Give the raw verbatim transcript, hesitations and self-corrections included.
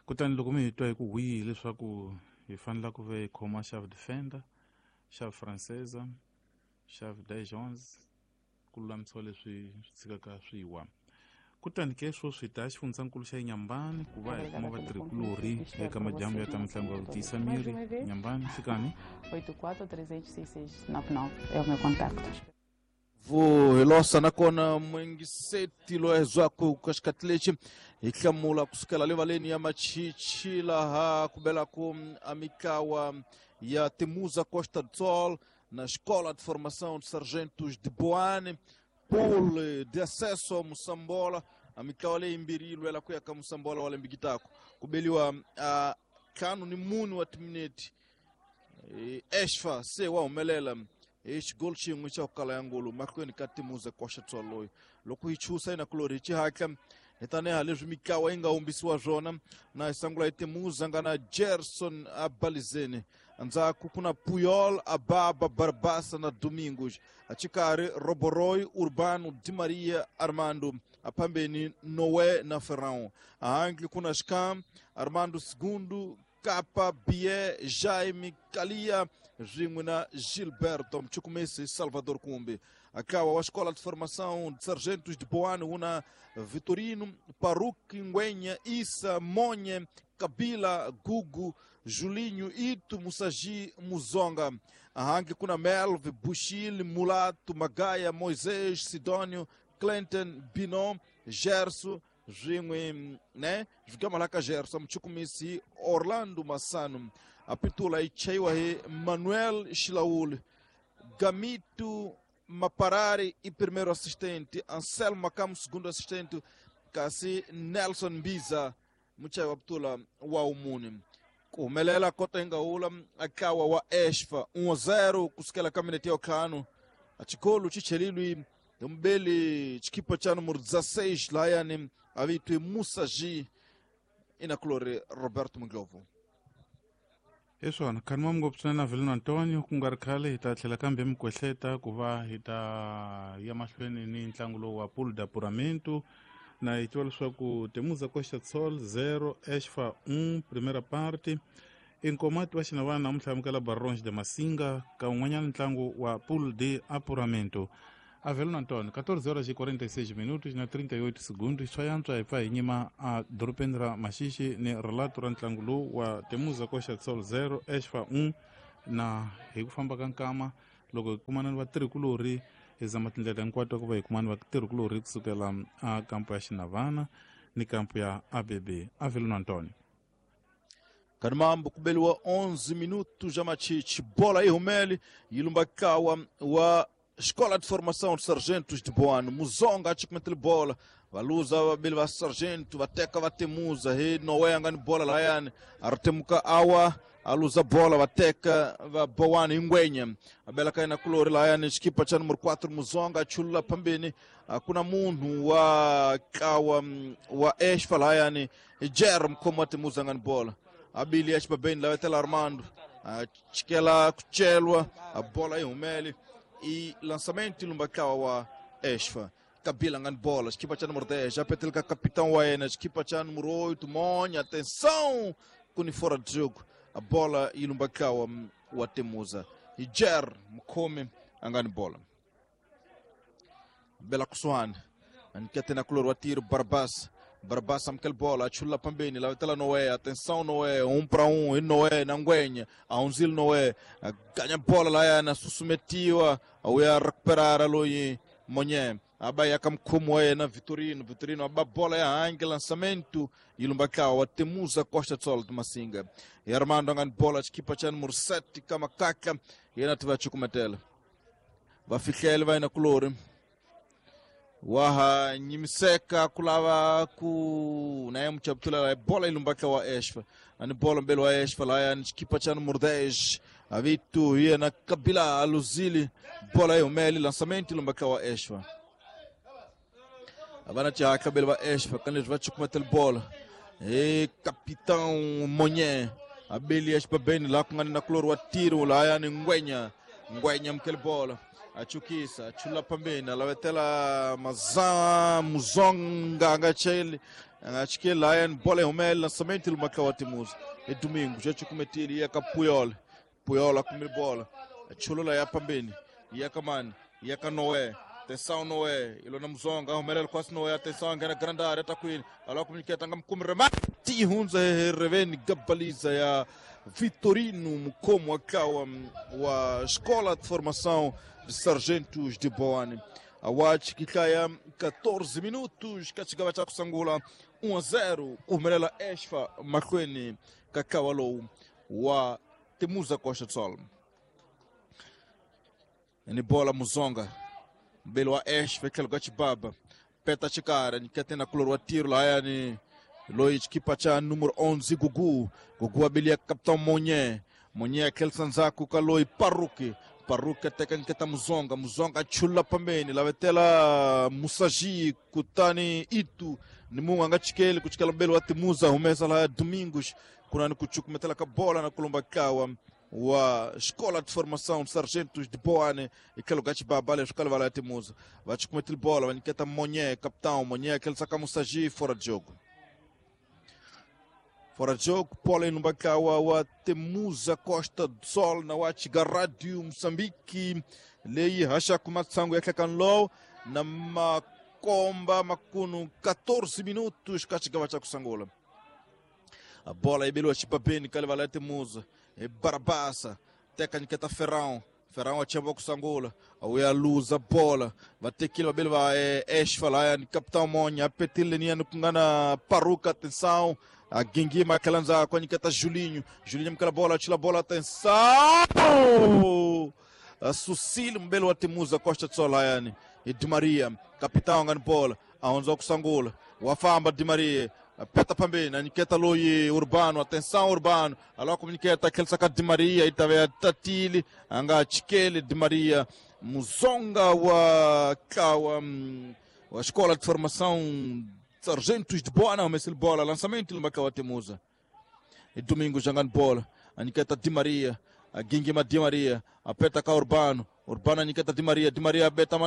Kutani loko mi hi twa hi ku hwihi leswaku hi fanele ku ve hi khoma chave defender, chave francesa, chave Dijon's ku lulamisiwa leswi swi tshikaka swi wa. Kutani ke sweswi hi ta xifundzankulu xa Inhambane ku va hi kuma vatirhikulorhi eka madyambu ya ta mitlangu ya ku tiyisa miri. Inhambane, nhlikani. oito quatro três oito seis seis nove nove é o meu contacto. Vo hilosa nakona mwingiseti loezwaku ka xikhathi lexi hi hlamula kusukela livaleni ya Machichi laha ku belaku a mitlawa ya Temuza Costa do Sol na Escola de Formação de Sargentos de Boane, pool de acesso ao Moçambola, a mitlawa leyi yimbirhi yi lwela ku ya ka Moçambola wa lembe gitako ku beliwa a ntlhanu ni mune wa timinete. Esfa se wa humelela hi xigolo xin'we xa ku kala ya ngolo mahlweni ka Temuza Costa do Sol loyi loko hi chusa yina kulori hi xihatla hi taniha leswi mitlawa yi nga humbisiwa swona na hi sangula hi Temuza nga na Gerson Abalizeni, ndzhaku ku na Puyol, Ababa, Barbasa na Domingos, axikarhi Roboroy, Urbano, Di Maria, Armando, aphambeni Noé na Ferrão, ahandle ku na Scam, Armando Segundo, Capa, Bié, Jaime, Kalia swin'we na Gilberto Mchukumisi Salvador Kumbi. Akawa wa Escola de Formação de Sargentos de Boane una Vitorino, Paruque, Ngwenha, Issa, Monha, Kabila, Gugu, Julinho, Ito, Musagi, Muzonga. Ahangi kuna Melve, Bushil, Mulato, Magaia, Moisés, Sidônio, Clinton, Binon, Gerso, swin'we ne swigama la ka Gerso Mchukumisi Orlando Massano. A pitula yi chayiwa hi Manuel Xilauli, Gamito Maparari e primeiro assistente, Anselmo Macamo segundo assistente, kasi Nelson Mbiza muchayi wa pitula wa umuni. Ku humelela kota yi nga hula akawa wa Esfa um a zero kusukela ka minete ya ntlhanu. A xikolo xi chelilwi hi mubeli xikipa xa numero dezesseis layani a vitwi Musa G inakulori Roberto Muglovo. Hi swona khanima ngopfu swinene Avelino Antonio, ku nga ri khale hi ta tlhela kambe mi kwehleta ku va hi ta ya mahlweni ni ntlangu lowu wa pool de apuramento. Na hi tiva leswaku Temuza Costa do Sol zero Esfa um primeira parte. Inkomati wa xinavana namuntlha amukela Barões de Massinga ka un'wanyana ntlangu wa pool de apuramento. Avelino Antonio, quatorze horas e quarenta e seis minutos na trinta e oito segundos, swa yantswa hi pfa hi nyima a dorobeni ra Maxixi ni relato ra ntlangu lowu wa Temuza Costa do Sol zero Esfa um. Na hi ku famba ka nkama loko hi kumana ni vatirhikulorhi hi zama tindlela hinkwato ku va hi kumana vatirhikulorhi kusukela a kampo ya Xinavana ni kampo ya A B B. Avelino Antonio. Kanimambo kubeliwa onze minutos já Machichi, bola yi humele yi lumba kawa wa Escola de Formação de Sargentos de Boane, Muzonga achikumethele bola, valuza vabili va sargento vateka vatemuza hi Noé angani bola layani aritemuka awa aluza bola vateka va Boane ingwenya abela kaina kulori layani xikipa cha numero quatro Muzonga achulula phambeni kuna munhu wa kawa wa Esfa layani Jer mkhomo wa Temuza angani bola abili axibabeni lavetela Armando achikela kuchelwa a bola yi humele e lançamento lumbakawa wa Esfa. Kabila ngani bola, equipa cha número dez, já petelka capitão wa yena, equipa cha número oito, Monha, atenção, kuni fora de jogo, a bola e lumbakawa wa Temuza. E Jer mkhome angani bola. Bela Kusuane, anikete na kulor wa tiro Barbas. Barbas amkel bola, achula pambeni, lavetela Noé, atenção Noé, um para um, e Noé na Ngwenha, a unzil Noé, ganha bola lá na susumetiwa, a recuperar a Loi Monhé, abai akamkhumo na Vitorino, Vitorino aba bola ya ange lançamento, e lumbakao, a Temuza Costa do Sol de Massinga. E Armando angani bola, equipa cha número sete, Kamakaka, e na tiva chukumetela. Vafikhele vai na kulori. Waha nyimiseka kulava ku naye mchaptula bola ilumbaka wa Esfa ani bola mbele wa Esfa la yani kipa cha número dez avitu hiya na Kabila aluzili bola yomeli lançamento ilumbaka wa Esfa abana cha Kabila wa Esfa kan va chukumetel bola e capitão Monhé abeli Esfa bem lá com na klor wa tiro la yani Ngwenya Ngwenya mkel bola achukisa achula pambeni alavetela maza Muzonga angacheli Acho que lá é bola humel lançamento do Macau Timuza. É domingo, já te cometi ele ia ka Puyol. Puyol a comer bola. Chulula ya pambeni. Ia ka mani, ia ka Noé. Atenção Noé, Ilona Muzonga, Romerelo quase Noé, atenção, ngena grande área, tá kwini. Alô comuniceta ngamkumi remati hunza reveni gabaliza ya Vitorino Mukomo akawa wa Escola de Formação de Sargentos de Boane. Awach kikaya catorze minutos, kachigaba cha kusangula um a zero, Umerela Esfa Makweni Kakawalo wa Temuza Costa do Sol. Ni bola Muzonga. Mbele wa Esfa ikelo gachibaba. Peta chikara nikatena kulor wa tiro la yani Loic kipa cha número onze Gugu. Gugu abilia capitão Monye. Monye kelsa nzaku kaloi Paruki. Paruki ateka nketa Muzonga. Muzonga chula pambeni. Lavetela Musaji kutani itu. Ni munga ngachikele kuchikela mbele wa Temuza humesa la Domingos. Kunani kuchukumetela ka bola na kulumba kawa wa Escola de Formação de Sargentos de Boane e gachi babale escola vai lá Temuza vai te cometer bola vai nketa Monye capitão Monye aquele saca Musaji fora de jogo. Fora de jogo, bola no Bacawa wa Temuza Costa do Sol na Watiga Rádio Moçambique lei racha kumatsango yakanlo na makomba makuno catorze minutos kachigava cha kusangola. A bola ibelo chipabeni kale vai lá Temuza e Barabassa teka nketa Ferrão. Ferrão achamba kusangola awea luza bola vatekile babele va Esfa lá ni capitão Monha petile ni kungana Paruca atenção a Gengima kalanza kwa nikata Julinho. Julinho mkala bola chila bola atenção a Sucílio mbele wa Temuza Costa do Sol yani e Di Maria capitão ngani bola aonza kusangola wafamba Di Maria peta pambeni aniketa loyi Urbano atenção Urbano alô comuniceta aquele saca Di Maria itave tatili anga chikele Di Maria Muzonga wa kawa wa Escola de Formação Sargentos de Boa mas ele bola lançamento no Macau Temuza e domingo jangando bola aniketa Di Maria a Gingima Di Maria aperta ka Urbano Urbano aniketa Di Maria Di Maria beta